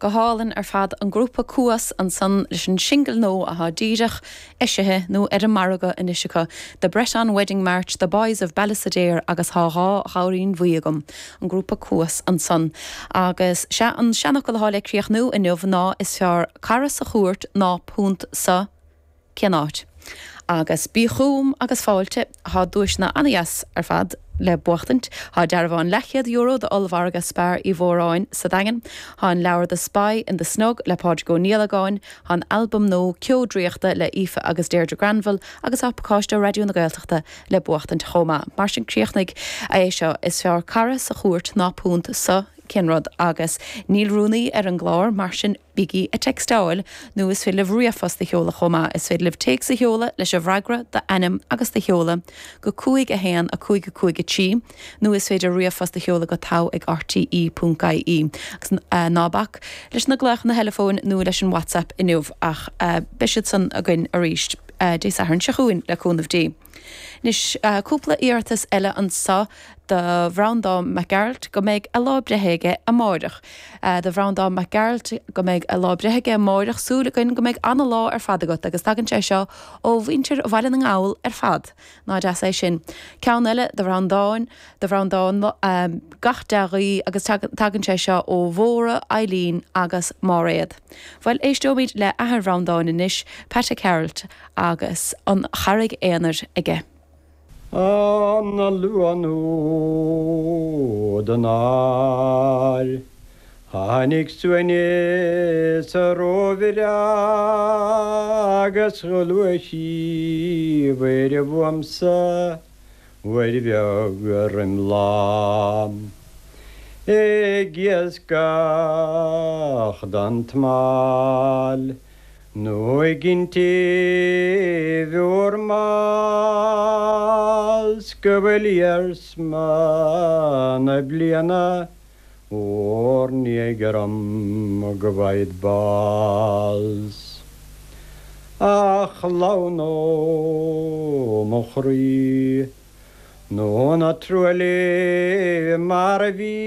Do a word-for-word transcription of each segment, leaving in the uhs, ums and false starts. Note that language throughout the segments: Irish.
Go hálainn ar fad an grúpa Cuas ansan leis an singil nua atá díreach eisithe nó ar an margadh anois acu. The Breton Wedding March, The Boys of Ballysadare agus Tá dhá ghamhairín bhuí agam an grúpa Cuas ansan. Agus sé an seanfhocal atá le críochnú inniu ná is fearr cara sa chúirt ná punt sa cén áit. Agus bí chugam agus fáilte tá duaiseanna an-deas ar fad le buachtaint, Tá dearbhán leathchéad euro d'ollmhargadh Spar Uí Mhóráin sa Daingean, Tá an leabhar The Spy in the Snug le Pádraig Ó Niallagáin, Tá an albam nua Ceo Draíochta le Aoife agus Deirdre Granville agus tá pacáiste Raidió na Gaeltachta le buachtaint chomh maith. Mar sin críochnaigh é seo is fearr cara sa chúirt ná punt sa cén rud agus níl rúnaí ar an gclár mar sin bígí ag textáil nó is féidir libh ríomhphost a sheoladh chomh maith is féidir libh téacs a sheoladh leis an bhfreagra d'ainm agus do sheoladh go cúig a haon a cúig a cúig a trí nó is féidir ríomhphost a sheoladh go togha ag RTE ponc IE agus ná bac leis na glaochanna teileafóin nó leis an WhatsApp inniu ach beidh siad san againn arís Dé Sathairn seo chugainn le cúnamh Dé. Anois cúpla iarratas eile anseo do Bhreandán Mac Gearailt go mbeidh a lá breithe aige amárach. Do Bhreandán Mac Gearailt go mbeidh a lá breithe aige amárach súil againn go mbeidh an-lá ar fad agat agus tagann sé seo ó mhuintir Bhaile na nGall ar fad. Ná deas é sin. Ceann eile do Bhreandán do Bhreandán um, gach dea-ghuí agus tagann sé seo ó Mhóra, Eileen agus Máiréad. Bhuel éisteoimid le athair Bhreandáin anois, Pat Gearailt agus an Charraig Aonair aige. An luath nó den ár Tháinig suaimhneas róbhreá agus ghluais sí uair uaimse uair bheag roim lá. Ag iascach don tsamhail nó ag iontaoibh úr mball 's go bhfuil iarsma na bliana bhur ndiaidh orm go bhfaighid bás. A chlann ó mo chroí nó ná truailligh mar a bhí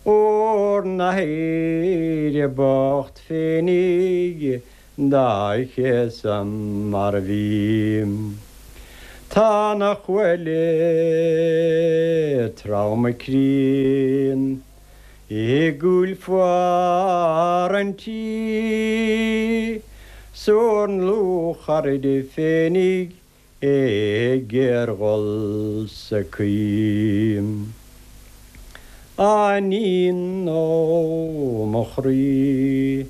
bhur n-athair bocht féinig dá chéasadh mar a bhí. Tá na chuaille trom críon i gcúil fuar an tí, 's bhur ndlúthchairde féinig ag géarghol sa chaoi. A iníon ó mo chroí.